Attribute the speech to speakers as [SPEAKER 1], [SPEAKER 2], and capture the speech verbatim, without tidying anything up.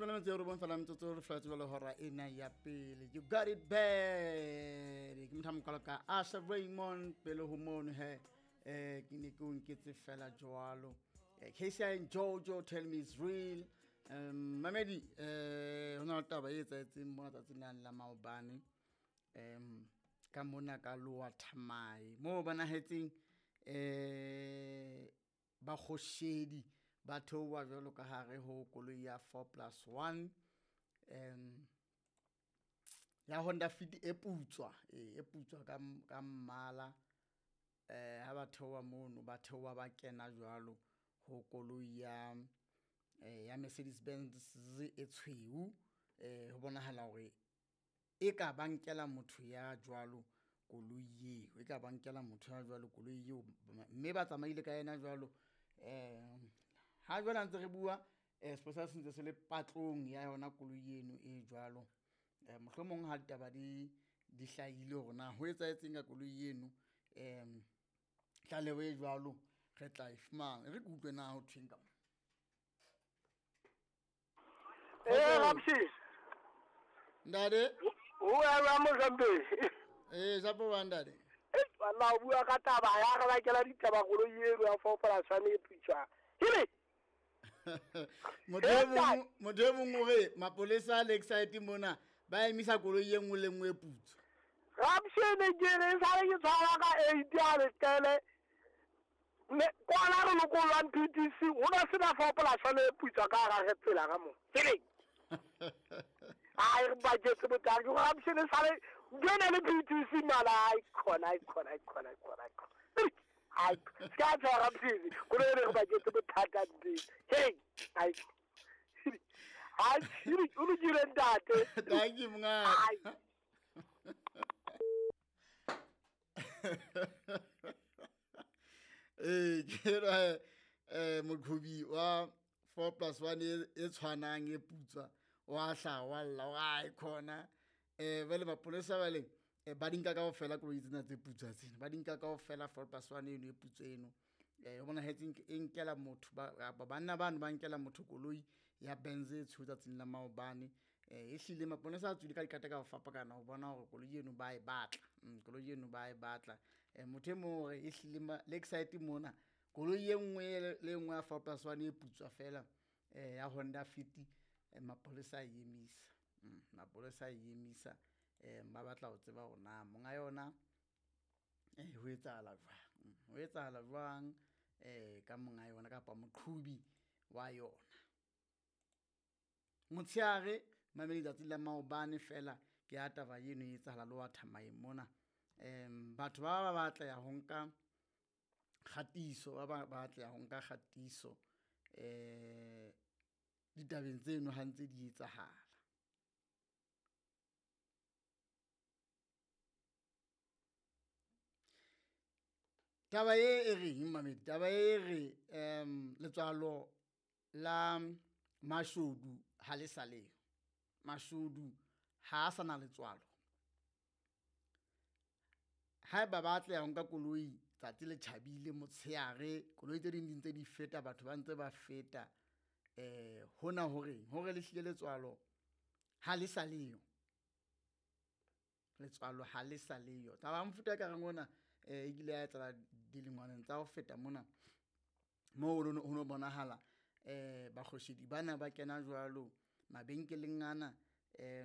[SPEAKER 1] Leshome le metso e robong fela metsotso re fela jwale hora ena ya pele. You got it bad. Ke motho a mokalo ka Asha Raymond pele ho mono he. Eh ke ne ke o nketse fela jwalo. Eh, K C I and Jojo tell me it's real. Um Mamedi eh hona le taba e etsahetseng mona tsatsing lena la maobane. Um ka mona ka Lower Thamae mo bonahetseng eh ba kgoshedi ba theoha jwalo ka hare ho koloi ya four plus one, um ya Honda Fit e putswa, e, e putswa ka m-, ka mmala. Eh, ha ba theoha mono, ba theoha ba kena jwalo ho koloi ya, eh, ya Mercedes Benz e tshweu. Eh, ho bonahala hore e ka ba nkela motho ya jwalo koloi eo, e ka ba nkela motho ya jwalo koloi eo, mme ba tsamaile ka yena jwalo. Eh, ha jwale ha ntse re bua, eh, sepolesa se ntse se le patlong ya yona koloi eno e jwalo. Eh, mohlomong ha ditaba di, di hlahile hore na ho etsahetseng ka koloi eno, em, tlaleho e jwalo re tla e fumana. E re ke utlwe na ho thweng ka mo.
[SPEAKER 2] Eh, Ramsey.
[SPEAKER 1] Ntate?
[SPEAKER 2] O ya Mozambique.
[SPEAKER 1] Eh, Japo wa ntate.
[SPEAKER 2] Eh, wala o bua ka taba ya re bakela ditaba koloi eno ya four plus one e putswa. Hile.
[SPEAKER 1] Motho e mong, motho e mong o re mapolesa a Lakeside mona ba emisa koloi e nngwe le nngwe e putswa.
[SPEAKER 2] Ramsey ne ke re sa re ke tshwara ka eight ya letele. Ne kwana re lokollwang P T C, ho na sena four plus one e putswa ka hara re tsela ka mo. Hile. Ai, re baketse botaki. Ramsey ne sale ke ne le P T C mala, ai khona, ai khona, ai khona, ai khona, ai khona. Ai, ska tsa Ramsey, koloi re baketse bothata ntle. Hey, ai. Ai, o lokile ntate.
[SPEAKER 1] Thank you, monga.
[SPEAKER 2] Ai.
[SPEAKER 1] Eh, ke ra, eh, moqhobi wa four plus one e, e tshwanang e putswa, wa hla, wa lla, wa ai khona. Eh, jwale mapolesa ba leng, eh, ba di nka kaofela koloi tsena tse putswa tsena. Ba di nka kaofela four plus one eno e putswa eno. Eh, ho bonahetse nke, e nkela motho, ba, ba, banna bano ba nkela motho koloi ya Benz e tshweu tsatsing la maobane. Eh, ehlile maponesa a tswile ka dikata ka ho fapakana ho bona hore koloi eno ba e batla. Mm, koloi eno ba e batla. Eh, motho e mong hore ehlile ma-, Lakeside mona, koloi e nngwe le, le nngwe ya four plus one e putswa fela, eh, ya Honda Fit, eh, mapolesa a e emisa. Mm, mapolesa a e emisa. Eh, ba batla ho tseba hore na monga yona, eh, ho etsahala jwang. Mm, ho etsahala jwang, eh, ka monga yona kapa moqhubi wa yona. Motshehare, mamedi tsatsi la maobane fela ke ya taba eno e etsahala Lower Thamae mona. Em, batho ba ba batla ya ho nka kgatiso, ba ba batla ya ho nka kgatiso, eh, ditabeng tseno ha ntse di etsahala. Taba e e reng, mamedi? Taba e re, em, letswalo la mashodu ha le sa leyo. Mashodu ha a sa na letswalo. Haeba ba atleha ho nka koloi tsatsi le tjhabile motshehare, koloi tse ding di ntse di feta, batho ba ntse ba feta, eh, hona ho reng? Hore le hlile letswalo ha le sa leyo. Letswalo ha le sa leyo. Taba ya mofuta e ka reng ona, eh, e kile ya etsahala dilengwaneng tsa ho feta mona, moo ho no, ho no bonahala, eh, bakgoshedi bana ba kena jwalo mabenkeleng ana, eh,